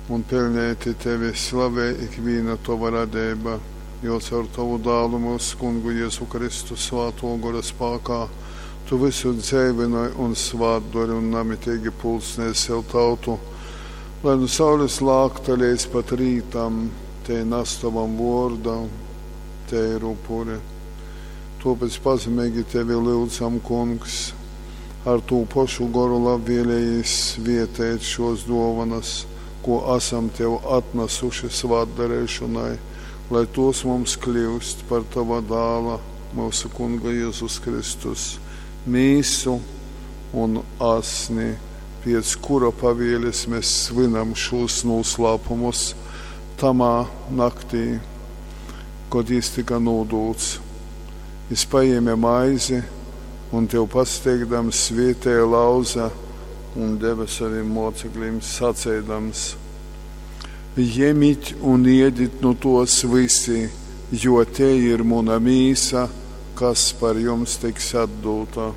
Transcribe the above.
Un peļneiti Tevi slavej ikvīna Tova radeiba, jo caur Tovu Dālu, myusu Kungu Jezu Kristu, Svātō Gora spākā Tu vysu dzeivynoj un svātdori un namiteigi pulcnej sev tautu, lai nu saules lākta leidz pat rītam tei nas Tovam vōrdam teiru upuri. Tōpēc pazemeigi Tevi lyudzam, Kungs, ar tū pošu goru labvēlejīs svieteit šōs dōvonas, kū asam Tev atnasuši svātdareišonai, lai tōs mums kļyust par Tova Dāla, myusu Kunga Jezus Kristus, mīsu un asni, piec kura pavielis mes svynam šūs nūslāpumus, tamā naktī, kod jys tyka nūdūts, jys pajēme maizi un, Tev pasateikdams, svētēja, lauze un deve sovim mōceklim, saceidams, Jemit un iedit nu tōs vysi, jo tei ir muna mīsa, kas par jums tiks atdūta.